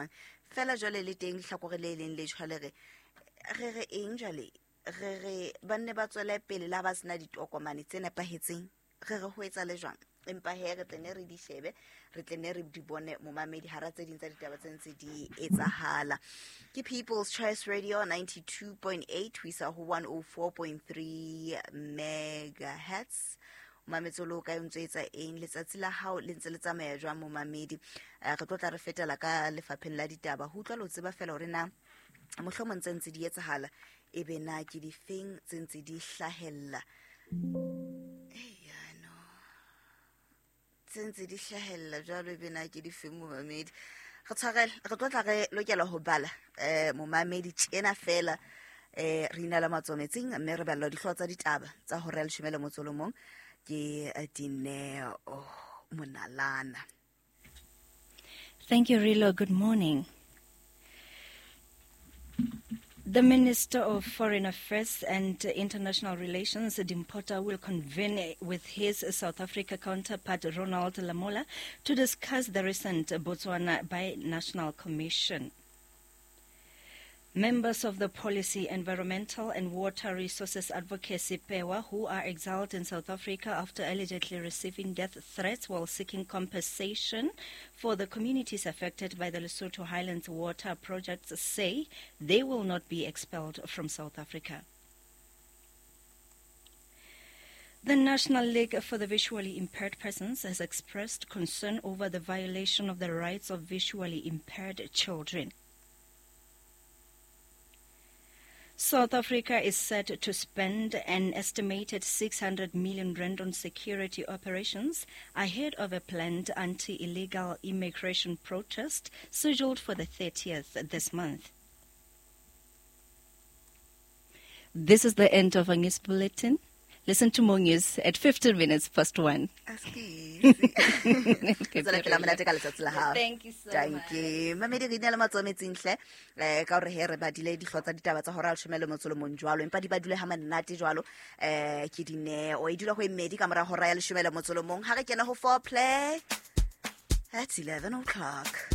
jwang. Fela jwale le teng lehlakore le leng le jwale re re re eng jwale, re re ba nne ba tswele pele la ba sena ditokomane tse nepahetseng, re re ho etsa le jwang. Empa he re tle ne re di shebe, re tle ne re di bone momamedi hara tse ding tsa ditaba tse ntse di etsahala. Ke People's Choice Radio 92.8 ho isa ho 104.3 megahertz. O mametse o le o kae, o ntso etsa eng, letsatsi la hao le ntse le tsamaya jwang momamedi? Re tlo tla re fetela ka lefapheng la ditaba ho utlwa le ho tseba fela hore na mohlomong tse ntse di etsahala, e be na ke difeng tse ntse di hlahella. Eya, no tse ntse di hlahella jwalo, e be na ke difeng momamedi? Re tshwarele, re tlo tla re lokela ho bala momamedi tjena fela. Re ina la matsometsing mme re balla dihlooho tsa ditaba tsa hora ya leshome le motso o le mong ke Dineo Monalana. Thank you, Rilo. Good morning. The Minister of Foreign Affairs and International Relations, Dimpho Tau, will convene with his South Africa counterpart, Ronald Lamola, to discuss the recent Botswana Binational Commission. Members of the Policy, Environmental and Water Resources Advocacy, PEWA, who are exiled in South Africa after allegedly receiving death threats while seeking compensation for the communities affected by the Lesotho Highlands water projects, say they will not be expelled from South Africa. The National League for the Visually Impaired Persons has expressed concern over the violation of the rights of visually impaired children. South Africa is set to spend an estimated 600 million rand on security operations ahead of a planned anti-illegal immigration protest scheduled for the 30th this month. This is the end of our news bulletin. Listen to more news at 1:15. Askies. Tswela pele monate ka letsatsi la hao. Thank you so Thank much. you. Mamedi, re ina le matsometsing hle. Ka hore he re badile dihlooho tsa ditaba tsa hora ya leshome le motso o le mong jwalo, empa di badule ha monate jwalo. Ke Dineo. E dula ho e mmedi ka mora hora ya leshome le motso o le mong. Ha re kena ho four play at 11 o'clock.